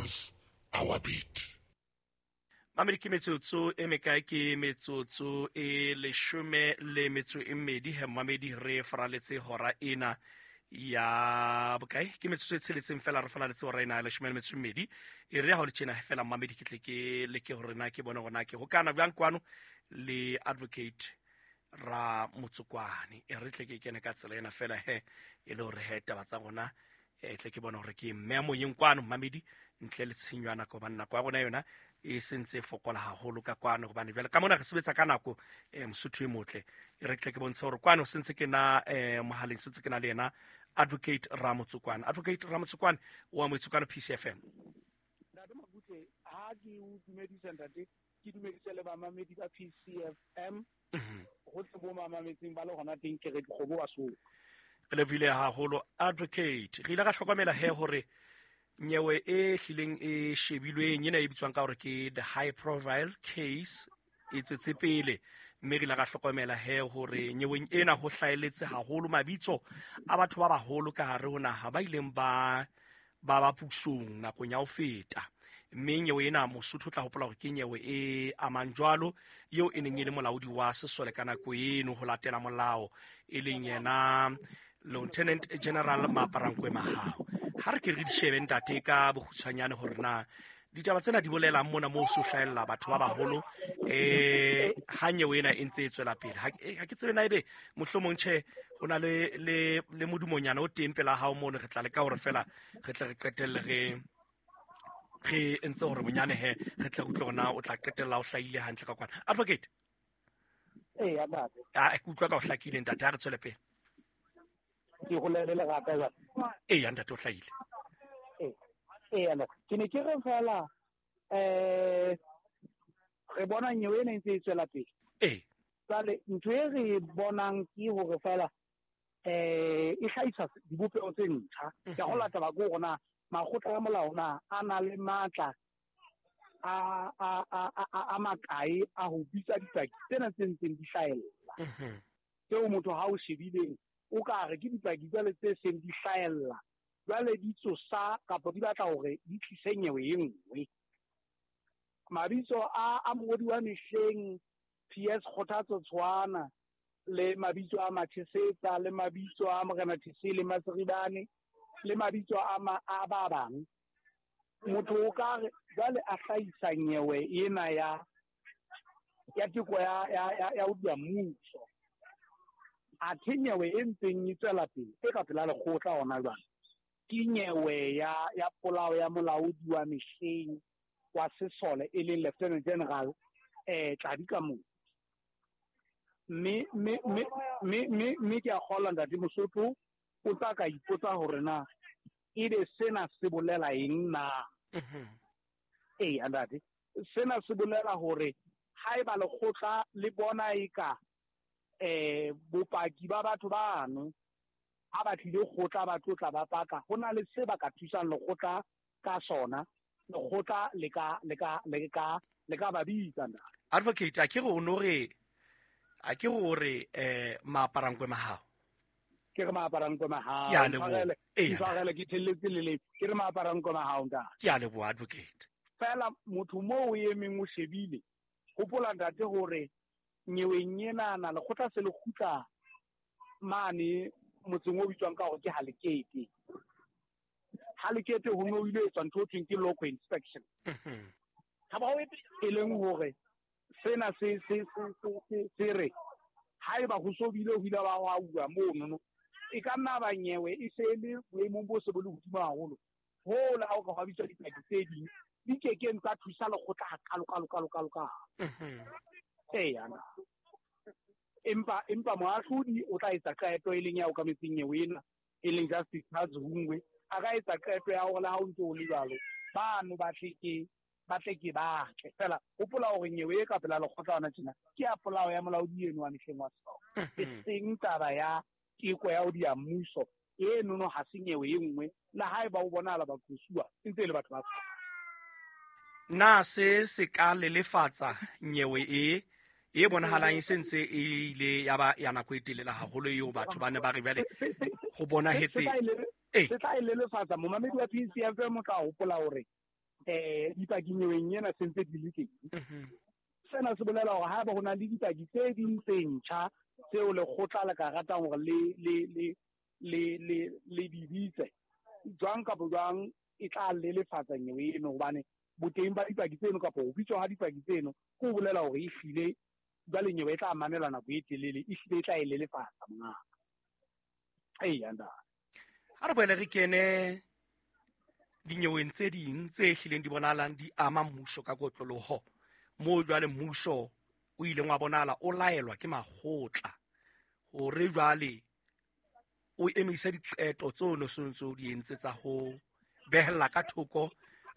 Pulse, our beat. Mamedi, ke metsotso e mekae? Ke metsotso e 12 he, mamedi, re faraletse hora ena ya bokae? Ke metsotso e tsheletseng fela re faraletse hora ena ya 12. E re ya ho le tjena fela, mamedi, ke tle ke leke hore na ke bone hore na ke hokana bjang kwano le Advocate Ra Motsokwane. E re tle ke kene ka tsela ena fela he, e le hore he taba tsa rona e tle ke bone hore ke mme moyeng kwano, mamedi, ntle le tshenyo ya nako, hobane nako ya rona yona e sentse e fokola haholo ka kwano, hobane jwale ka mona re sebetsa ka nako. Mosotho e motle, e re tle ke bontshe hore kwano sentse ke na mohaleng, sentse ke na le yena Advocate Ramotsokwane. Advocate Ramotsokwane wa Motsokwane, PCFM. Ntate Mabutle, ha ke o dumedisa, ntate, ke dumedise le bamamedi ba PCFM gotlhe bo mamametseng ba le gona teng, ke re dikgomo ba soo. Re lebohile haholo, Advocate. Re ile ra hlokomela he hore nyewe e hlileng e shebilweng ena e bitswang ka hore ke the high profile case e tswetse pele, mme re ile ra hlokomela he hore nyeweng ena ho hlaeletse haholo mabitso a batho ba baholo ka hare ho naha ba ileng ba ba ba pusong nakong ya ho feta. Mme nyewe ena, Mosotho o tla hopola hore ke nyewe e amang jwalo eo e neng e le molaodi wa sesole ka nako eno ho latela molao, e leng yena Lieutenant General Maaparankoe Mahao. Ha re ke re di shebe, ntate, ka bokgutshwanyane hore na ditaba tsena di bolelang mona moo so hlahella batho ba baholo ha nyewe ena e ntse e tswela pele. Ha ke tsebe na ebe mohlomong tjhe ho na le modumonyana o teng pela hao mono. Re tla leka hore fela re tle re qetelle re entse hore bonyane he re tle re utlwe hore na o tla qetella o hlahile hantle ka kwana, Advocate. Ee, ntate. A ke utlwa ka o hlakile, ntate. Ha re tswele pele. Ke golele lerata jwale. Ee, ntate, o hlahile. Ee, ntate, ke ne ke re fela re bona nyewe ena e ntse e tswela pele. Jwale ntho e re e bonang ke hore fela e hlahisa dibopeho tse ntjha. Ke a gola taba ke hore na makgotla a molao na a na le matla a makae a ho bitsa dipaki tsena tse ntseng di hlahella, tseo motho ha o shebileng o ka re ke dipaki jwale tse seng di hlahella jwale di tsosa kapa di batla hore di tlise nyewe e nngwe. Mabitso a mongodi wa mehleng PS Kgothatso Tshwana, le mabitso a Machesetsa, le mabitso a Morena Thesele Maseribane, le mabitso a ba bang, motho o ka re jwale a hlahisa nyewe ena ya teko ya ho dia mmuso, athe nyewe e ntseng e tswela pele e ka pela lekgotla hona jwale ke nyewe ya polao ya molaodi wa mehleng wa sesole, e leng Lieutenant General Tladi Kamoli. Mme ke a kgolwa, ntate Mosotho o tla ka ipotsa hore na ebe sena se bolela eng na. Ee, ntate, sena se bolela hore haeba lekgotla le bona eka bopaki ba batho bano ha ba tlile kgotla ba tlotla ba paka, ho na le se ba ka thusang lekgotla ka sona, lekgotla le ka ba bitsa, ntate. Advocate, a ke re o no re, a ke re o re Maaparankwe Mahao? Ke re Maaparankoe Mahao. Ke a leboha. Ee. Ntshwarele, ke thelletse leleme. Ke re Maaparankoe Mahao, ntate. Ke a leboha, Advocate. Fela motho moo o emeng o shebile, hopola, ntate, hore nyeweng enana lekgotla se le kgutla mane motseng o bitswang ka hore ke Halekete. Halekete ho no ile etswa ntho e thweng ke loco inspection, e leng hore sena se re haeba ho so bile ho ile ba wa uwa monono, e ka nna ba nyewe e se le boemong bo se bo le hodimo haholo hoo le ha o ka hwa bitswa dipaki tse ding di kekeng tsa thusa lekgotla hakalo kalo kalo kalo kalo. Eya, empa moahlodi o tla etsa qeto, e leng ya okametseng nyewe ena, e leng Justice Charles Hungwe, a ka etsa qeto ya hore le ha o ntse o le jwalo bano ba tle ke ba tle. Fela hopola hore nyewe e ka pela lekgotla hona tjena ke ya polao ya molaodi eno wa mehleng wa sesole, e seng taba ya teko ya ho dia mmuso. Enono ha se nyewe e nngwe, le haeba o bonahala baqosuwa e ntse e le batho ba sesole. Na se se ka lelefatsa nyewe e bonahalang e sentse e ile ya ba ya nako e telele haholo eo batho ba ne ba re bjale ho bonahetse? Se tla e lelefatsa. Momamedi wa PCFM o tla hopola hore Dipaki nyeweng ena sentse di le teng. Sena se bolela hore haeba ho na le dipaki tse ding tse ntjha tseo lekgotla le ka ratang hore le di bitse jwang kapa jwang, e tla lelefatsa nyewe eno, hobane boteng ba dipaki tseno kapa ho bitswa ha dipaki tseno ke ho bolela hore ehlile jwale nyewe e tla mamelwa nako e telele, ehlile e tla e lelefatsa mongaka. Eya ntate. Ha re boele re kene dinyeweng tse ding tse hlileng di bonahalang di ama mmuso ka kotloloho, moo jwale mmuso o ileng wa bonahala o laelwa ke makgotla hore jwale o emise diqeto tseo no sontse o di entse tsa ho behella ka thoko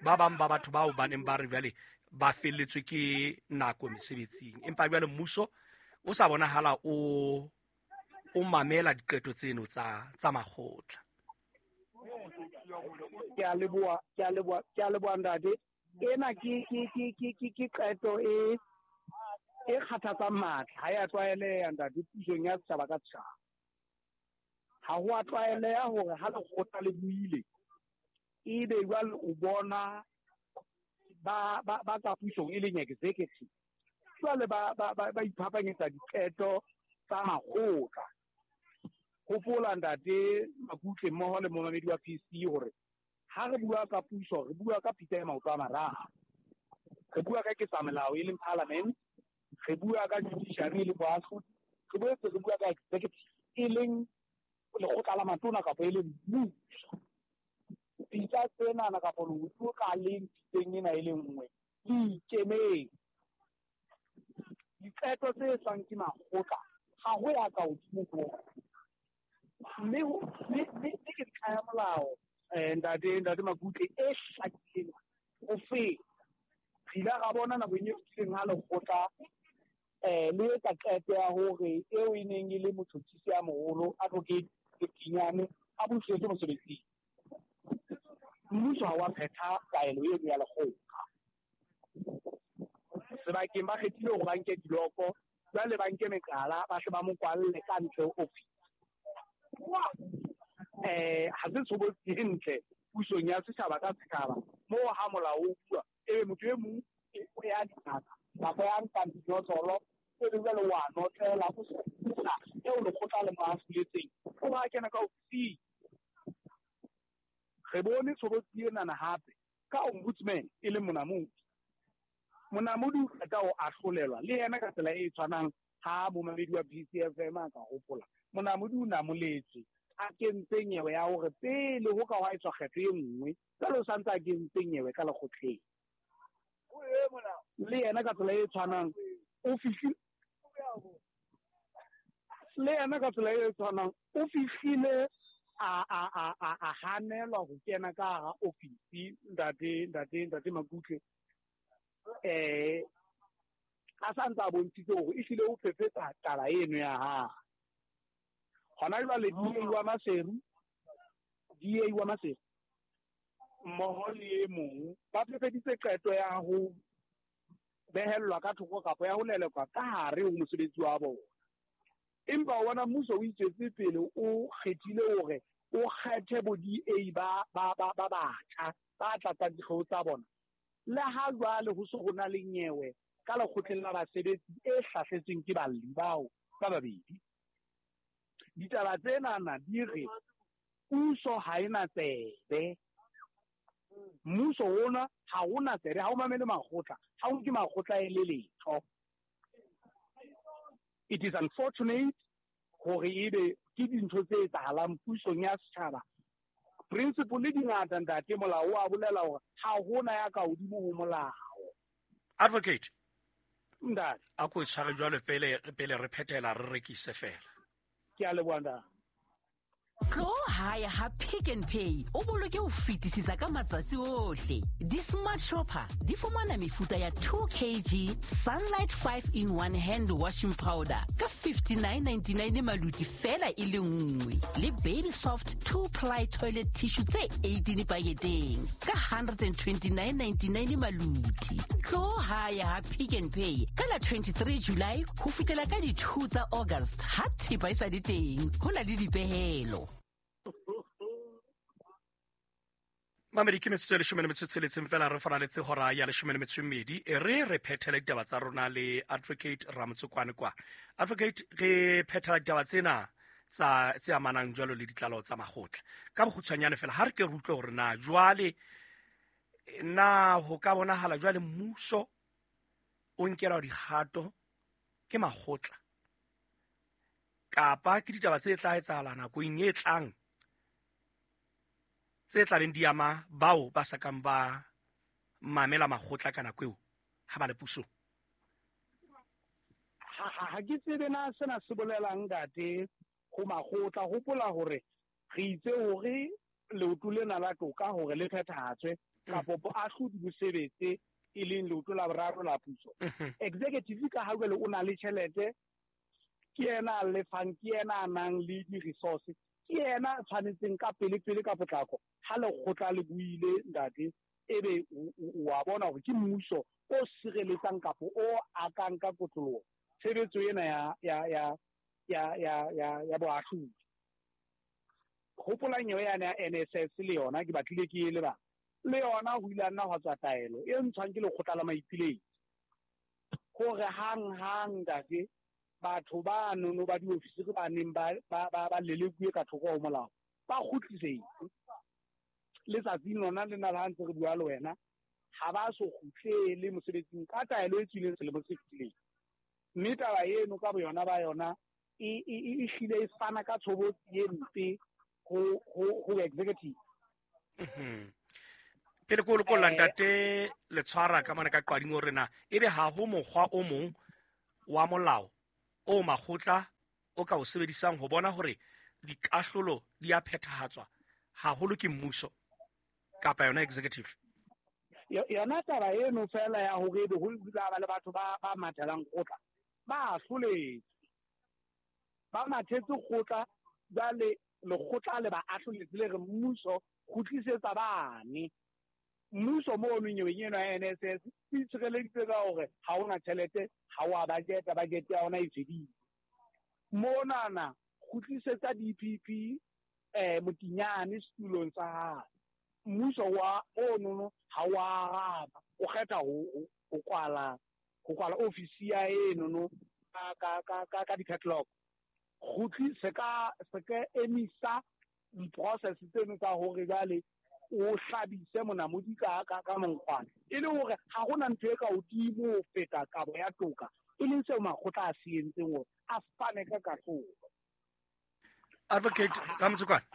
ba bang ba batho bao ba neng ba re jwale ba felletswe ke nako mesebetsing, empa jwale mmuso o sa bonahala o mamela diqeto tseno tsa makgotla. Ke a leboha ntate. Ena ke qeto e kgathatsang matla, ha ya tlwaeleha ntate pusong ya setjhaba ka setjhaba. Ha ho a tlwaeleha hore ha lekgotla le buile ebe jwale o bona ba ka pusong e leng executive jwale ba iphapanyetsa diqeto tsa makgotla. Hopola ntate Makutle mmoho le momamedi wa PC hore ha re bua ka puso re bua ka pitsa ya maoto a mararo. Re bua ka ketsamelao e leng parliament, re bua ka judiciary e leng boahlodi, re boetse re bua ka executive e leng lekgotla la matona kapa e leng mmuso. Pitsa tsenana kapa leoto ka leng pitseng ena e le nngwe le ikemetse. Diqeto tse etswang ke makgotla ha ho ya ka hodimo ho mme ke ntlha ya molao ntate Makutle e hlakileng ho feta. Re ile ra bona nakong e fetileng ha lekgotla le etsa qeto ya hore eo e neng e le motjhotjhisi ya moholo Advocate Letinyane a busetswe mosebetsing. Mmuso ha wa phetha taelo eno ya lekgotla. Sebakeng ba kgethile hore ba nke diloko, jwale ba nke meqala, ba hle ba mo kwalle ka ntle ho office. Ha se tshobotsi e ntle pusong ya setjhaba ka setjhaba moo ha molao o bua ebe motho e mong o ya dingaka kapa ya nkang dinotlolo ebe jwale wa notlela o sa eo lekgotla le mo ahloletseng o ba kena ka ofising. Re bone tshobotsi enana hape ka ombudsman e leng Monamodi. Monamodi o qeta ho ahlolelwa le yena ka tsela e tshwanang ha momamedi wa PCFM a ka hopola. Monamodi o namoletswe a kentse nyewe ya hore pele ho ka hwa etswa kgetho e nngwe, jwale o santse a kentse nyewe ka lekgotleng. Le yena ka tsela e tshwanang o fihlile, le yena ka tsela e tshwanang o fihlile a hanelwa ho kena ka hara ofisi ntate Makutle. A sa ntse a bontshitse hore ehlile o phephetsa taba eno ya hae. Hona jwale DA wa Maseru mmoho le e mong ba phephetitse qeto ya ho behellwa ka thoko kapa ya ho lelekwa ka hare ho mosebetsi wa bona. Empa o bona mmuso o itswetse pele o kgethile hore o kgethe bo DA ba batjha ba tlatsang dikgeo tsa bona. Le ha jwale ho se ho na le nyewe ka lekgotleng la basebetsi e hlahletsweng ke balli bao ba babedi. Ditaba tsenana di re puso ha ena tsebe. Mmuso ona ha ona tsebe, ha o mamele makgotla, ha o nke makgotla e le letho. It is unfortunate hore ebe ke dintho tse etsahalang pusong ya setjhaba. Principle le dingata ntate, molao wa bolela hore ha hona ya ka hodimo ho molao. Advocate ntate, a ko tshware jwalo pele re phethela re rekise fela. Ke a leboha ntate. Tlo hae ha Pick n Pay o boloke ho fetisisa ka matsatsi ohle. Di-smart shopper di fumana mefuta ya 2 kg Sunlight 5 in 1 hand washing powder ka 59.99 maluti fela e le nngwe, le Baby Soft 2 ply toilet tissue tse 18 paketeng ka 129.99 maluti. Tlo hae ha Pick n Pay ka la 23 July ho fihlela ka di 2 tsa August ha thepa e sa le teng, ho na le dipehelo. Mamedi, ke metsotso e 16 fela re faraletse hora ya 12. E re re phethele ditaba tsa rona le Advocate Ramotsokwane kwa. Advocate, re phethela ditaba tsena tsa tse amanang jwalo le ditlalo tsa makgotla. Ka bokgutshwanyane fela ha re ke re utlwe hore na jwale na ho ka bonahala jwale mmuso o nkelwa dikgato ke makgotla kapa ke ditaba tse tla etsahala nakong e tlang tse tlabeng di ama bao ba sa kang ba mamela makgotla ka nako eo ha ba le pusong. Ha ke tsebe na sena se bolelang ntate ho makgotla. Hopola hore re itse hore leoto lena la toka hore le phethahatswe kapa boahlodi bo sebetse, e leng leoto la boraro la puso. Executive ka ha jwale o na le tjhelete, ke yena a lefang, ke yena a nang le di-resource, ke yena a tshwanetseng ka pele-pele ka potlako ha lekgotla le buile ntate, ebe wa bona hore ke mmuso o sireletsang kapa o akang ka kotloloho tshebetso ena ya boahlodi. Hopola nyewe yane ya NSS le yona ke batlile ke e lebala. Le yona ho ile nna hwa tswa taelo e ntshwang ke lekgotla la maipiletso hore hang-hang ntate batho ba nono ba diofisiri ba neng ba lelekuwe ka thoko ho molao ba kgutlisetse. Letsatsing lona lena la ha ntse re bua le wena, ha ba so kgutlele mosebetsing ka taelo e tswileng selemo se fetileng. Mme taba eno ka boyona ba yona e hlile e fana ka tshobotsi e mpe ho executive. Pele ko lokolla ntate le tshwara ka mane ka qwading hore na ebe ha ho mokgwa o mong wa molao o makgotla o ka o sebedisang ho bona hore dikahlolo di a phethahatswa haholo ke mmuso kapa yona executive. Yona taba eno fela ya hore ebe ho ile ba le batho ba mathelang kgotla ba ahloletswe, ba mathetse kgotla, jwale lekgotla le ba ahloletse le re mmuso kgutlisetsa bane. Mmuso mono nyeweng eno ya NSS o itshireleditse ka hore ha ona tjhelete, ha wa budget, budget ya ona e fedile. Monana kgutlisetsa DPP Motinyane setulong sa hae. Mmuso wa ono ha wa araba, o kgetha ho kwala ofisi ya eno ka di-padlock. Kgutlise ka se ka emisa di-process tseno tsa hore jwale o hlabise monamodi ka monkgwana, e le hore ha hona ntho e ka hodimo ho feta kabo ya toka, e leng seo makgotla a se entseng hore a fane ka kahlolo. Advocate Ramotsokwane,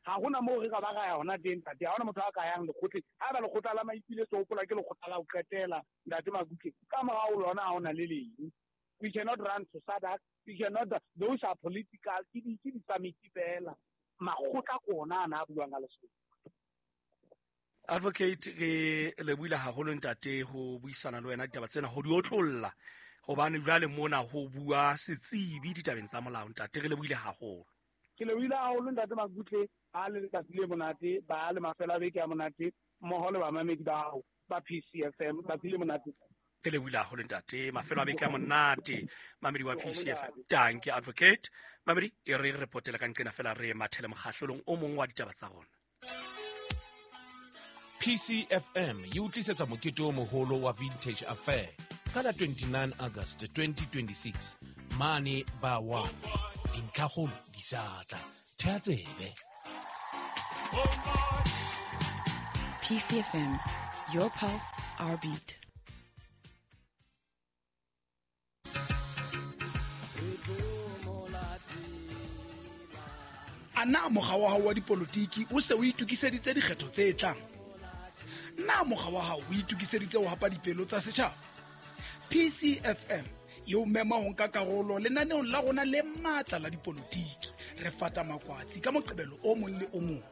ha hona moo re ka ba ra ya hona teng ntate, ha hona motho a ka yang lekgotleng. Haeba lekgotla la maipiletso hopola ke lekgotla la ho qetela ntate Makutle, ka morao lona ha hona le leng. We cannot run to SADC, we cannot, those are political, ke di-summit fela. Makgotla ke ona ana a buang ka Lesotho. Advocate, re lebohile haholo ntate ho buisana le wena ditaba tsena, ho di otlolla, hobane jwale mona ho bua setsebi ditabeng tsa molao ntate, re lebohile haholo. Ke lebohile haholo ntate Makutle, ba le letsatsi le monate, ba le mafelo a beke a monate, mmoho le bamamedi ba hao ba PCFM, tsatsi le monate. Re lebohile haholo ntate, mafelo a beke a monate, mamedi wa PCFM. Danke Advocate. Mamedi, e re re potele ka nqena fela re mathele mokgahlelong o mong wa ditaba tsa rona. PCFM e utlisetsa mokete o moholo wa Vintage Affair ka la 29 August 2026 mane ba 1. Dintlhakgolo di sa tla. Thea tsebe. PCFM, your pulse, our beat. Ana mokga wa hao wa dipolotiki o se o itokiseditse dikgetho tse tlang? Na mokga wa hao o itokiseditse ho hapa dipelo tsa setjhaba? PCFM e o mema ho nka karolo lenaneong la rona le matla la dipolotiki. Re fata makwatsi ka Moqebelo o mong le o mong.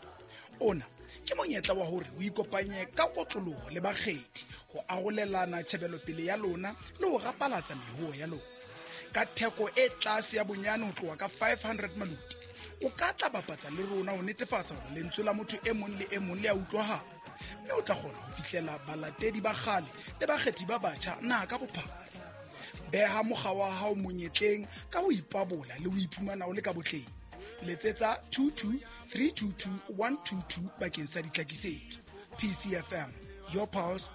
Ona ke monyetla wa hore o ikopanye ka kotloloho le bakgethi ho arolelana tjhebelopele ya lona le ho rapalatsa mehoho ya lona. Ka theko e tlase ya bonyane ho tloha ka 500 maluti, o ka tla bapatsa le rona ho netefatsa hore lentswe la motho e mong le e mong le a utlwahala, mme o tla kgona ho fihlela balatedi ba kgale le bakgethi ba batjha naha ka bophara. Beha mokga wa hao monyetleng ka ho ipabola le ho iphumana o le ka botleng. Letsetsa 22 322 122 bakeng sa ditlhakisetso. PCFM, your pulse,